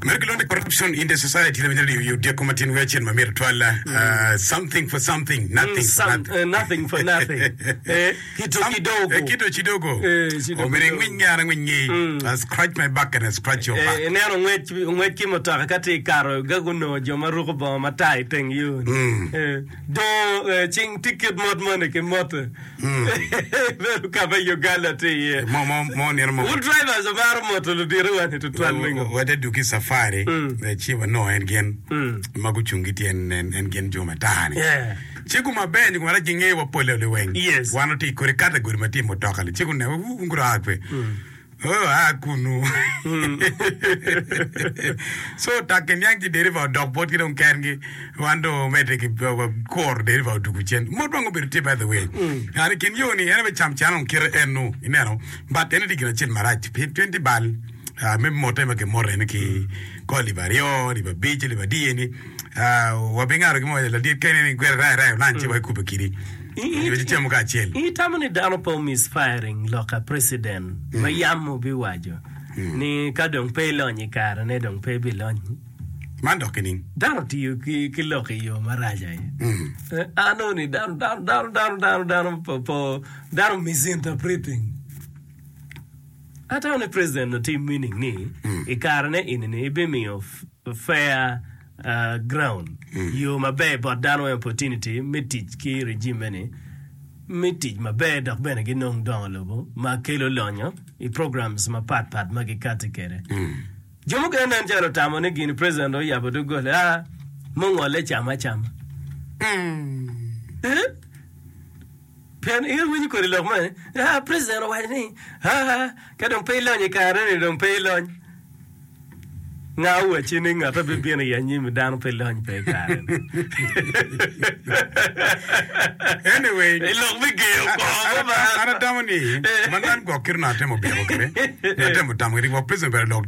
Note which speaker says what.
Speaker 1: Meno kilwongo ni corruption in the society lawiny radio i odyeko ma tyen wiye acel ma myero twal uh, something for something nothing for
Speaker 2: Some,
Speaker 1: nothing.
Speaker 2: eh, nothing for nothing. Eh, kito
Speaker 1: Some-
Speaker 2: kidogo.
Speaker 1: eh, kito chidogo.
Speaker 2: Eh, chidogo.
Speaker 1: Omyero ingwiny ngara ngwiny ngi. I scratch my back and I scratch your back.
Speaker 2: Eh, ineno ngwec ngwec ki mutoka ka tye kato ga gunongo jo ma ruko bongo matar i teng yo ni. Eh, dongo eh, cing tye kit mot moni ki mote. Bedo ka ma Uganda tye iye.
Speaker 1: Mo mo mo nino mo.
Speaker 2: Wun drivers wumaro moto ludito wani tutwal mingo.
Speaker 1: Wade duki safari
Speaker 2: Mm.
Speaker 1: ci wanongo en gin
Speaker 2: Mm.
Speaker 1: ma gucung ki tyen en en gin jo matar ni.
Speaker 2: Yeah.
Speaker 1: Ci guma ber nyo guma rac gingeyo wa pole liweng.
Speaker 2: Yes.
Speaker 1: Wan otye i kodi category ma tye i mutoka li ci guneno wun gura kwe. Oh, a kunu. So tak iniang ci deriva odok botgi dong kengi. Wan dong omedde ki kuro deriva odugu cen. Mot wang obedo tye by the way. An i kin yo ni en aye cam can dong kite enu ineno. But en tye gin acel marac pien tye bal ah, me mote ma kimoto eni ki kor alip aryo, alip abic, alip adi eni. Ah, wabingado gin mo ladit kene ni gwere rai rai olan ci wakube kidi.
Speaker 2: I-
Speaker 1: Nyo cemo kacel.
Speaker 2: Itamo ni dano pe omisfiring lok a president ma yam obiwaco ni ka dong pe ilony i kare ne dong pe ibilony?
Speaker 1: Man dok kining?
Speaker 2: Dano tiyo ki, ki lok i yo marac aye. Eh, Anongo ni dano, dano, dano, dano, dano, dano, po, po, dano misinterpreting. Atamo ni president otim meaning ni i kare ne ini ni ibimiyo f- fair ground, yo maber bot dano weng opportunity me tic ki regime ni me tic maber dok bene ginong dongo lobo ma kelo lonyo i programs mapat pat ma gikati kede. Jo mukene nen calo otamo ni gini president oyabo doggola ah mungole cam acama. Eh? Pien in iwinyo kodi lok man ni, ah president owaco ni ah ka dong pe ilony i kare ni dong pe ilony. Nga owacci ni ngat ma bibino i anyim dano pe lony pe i kare ni.
Speaker 1: Anyway,
Speaker 2: I lok me geyo kor mo ma
Speaker 1: an atamo ni man man gwok kit onongo atemo byeko kwede, nyo atemo tamo kwede, gwok president obedo lok ni.